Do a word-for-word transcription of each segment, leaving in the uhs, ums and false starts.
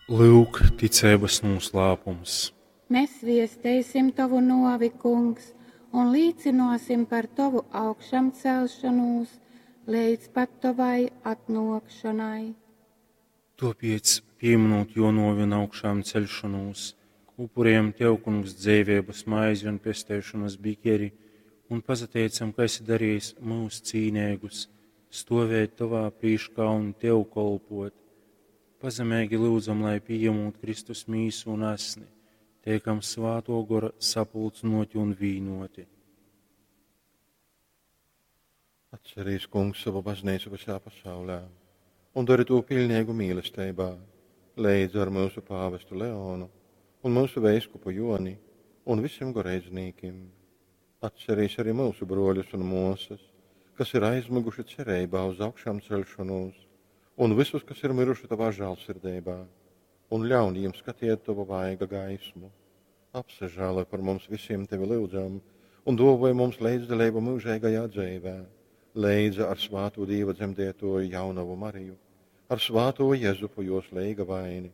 Lyuk, ticeibas nūslāpums. Mēs viesteisim tovu nuovi, Kungs, un līcynuosim par tovu augšamcelšonūs leidz pat tovai atnuokšonai. Tuopiec, pīmynūt juo nuovi un augšāmceļšonūs, upurejam Tev, Kungs, dzeiveibas maizi un pesteišonas bikeri un pasateicam, ka esi darejis myus cīneigus stuovēt Tovā prīškā un Tev kolpot. Pazemeigi lyudzam, lai pījemūt Kristus mīsu un asni, teikam Svātuo Gora sapulcynoti un vīnuoti. Atcerīs, Kungs, savu baznīcu visā pasaulē un dari to pilnīgu mīlestībā, leidz ar mūsu pāvestu Leonu un mūsu veiskupu Joni un visiem goreidznīkim. Atcerīs arī mūsu broļus un mosas, kas ir aizmiguši cerībā uz augšām celšanos, un visus, kas ir miruši tavā žēlsirdībā, un ļaun viņiem skatiet tavu vaiga gaismu. Apsažēloj par mums visiem tevi lūdzam, un dāvoj mums līdzdalību mūžīgajā dzīvē, leidza ar svāto Dieva dzemdētoju jaunavu Mariju, ar svāto Jezupu jos leigavaini,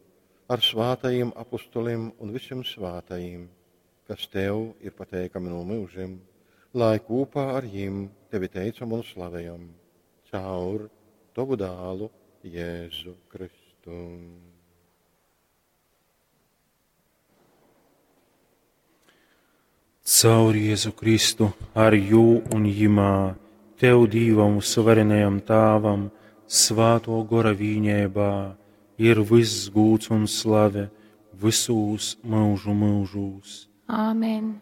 ar svātajiem apustulim un visiem svātajiem, kas tev ir pateikami no mūžiem, lai kopā ar jim tevi teicam un slavējam, caur tavu dālu Jēzu Kristu. Caur Jēzu Kristu, ar jū un jimā, Tev, Dīvam, suverenajam Tāvam, Svāto Gora vīņēbā, ir viss gūds un slave visūs mūžu mūžūs. Āmen.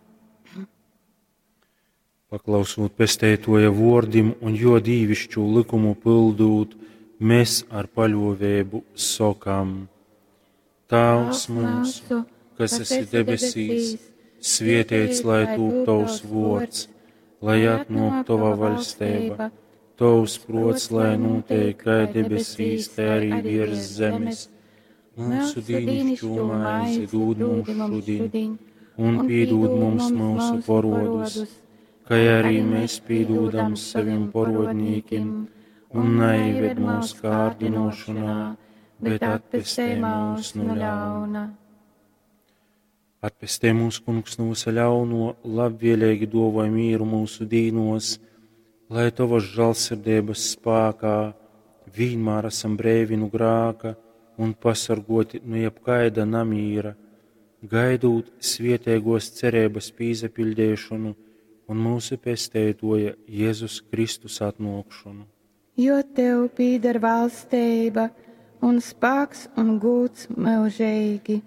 Paklausūt pesteitoja vordim un jo dīvišķu likumu pildūt, mēs ar paļovēbu sokam: Tāvs mūsu, kas esi debesīs, svietēts lai tūp tavs vords, lai atnāk tava vaļstība, tavs prots, lai notiek kā debesīs, tā arī virs zemes. Mūsu dīnišķo maizi dod mums šodien, un piedod mums mūsu porodus, kā arī mēs piedodam saviem porodnīkiem, un neieved mūsu kārdinošanā, bet atpestē mūs no ļauna. Atpestē mūs, Kungs, no visa ļauno, labvēlīgi dovoj mīru mūsu dīnos, lai tavas žēlsirdības spēkā vienmēr esam brīvi no grāka un pasargoti no jebkaida namīra, gaidūt svietēgos cerības pīzapildēšanu un mūsu pesteitoja Jēzus Kristus atnākšanu. Jo tev pīder valstība un spēks un gūts mūžīgi.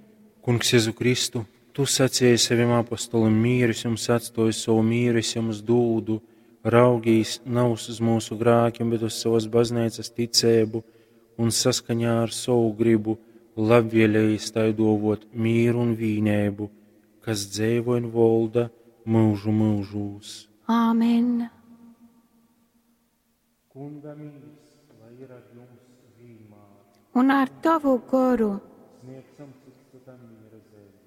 Kungs Jēzu Kristu, tu sacīji saviem apostolim mīru es jums atstoju savu mīru, es jums dūdu, raugīs nav uz mūsu grākiem, bet uz savas baznīcas ticēbu un saskaņā ar savu gribu labvēlējis tai dovot mīru un vīnēbu, kas dzēvo un volda mūžu mūžūs. Āmen. Kunga mīrs, lai ir ar jums vienmēr. Un ar tavu goru. Sniegsim cits citam miera zīmi.